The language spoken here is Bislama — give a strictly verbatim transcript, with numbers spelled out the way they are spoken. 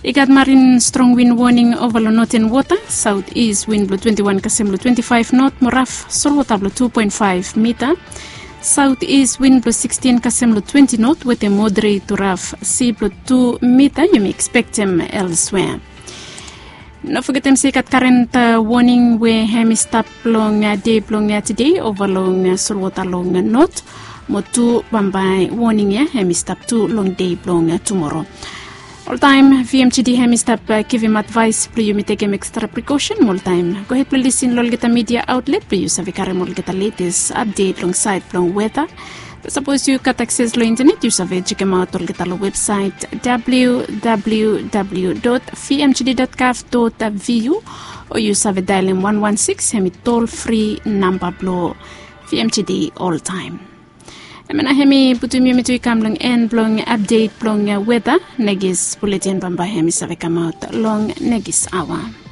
I gat marin strong win woning ova long noten wota. Saut is win blong twenti wan kasem long twenti faef not mo raf solwota blong tu poen faef mita. Saut is win blong sikstin kasem long twenti not wetem moderet tu raf si blong tu mita yumi ekspektem elswea. No fogetem se i gat karen woning we hem i stap long dei blong tede ova long solwota long not, mo tu bambae woning ya hem i stap tu long dei blong tumoro. Oltaem vmgd hem i stap givim advaes blong yumi tekem ekstra prekosen. Mo oltaem gohed blong lisin long olgeta midia aotlet blong yu save karem olgeta letes apdet long saed blong weta. Sapos yu gat akses long intenet yu save jekemaot olgeta long websaet www vmgd gov vu, o yu save daelem wan wan sikis hem i tol fri namba blong vmgd oltaem. Hemia nao hem i putum yumi tu i kam long en blong apdet blong weta. Nekis buletin bambae hem i save kamaot long nekis aoa.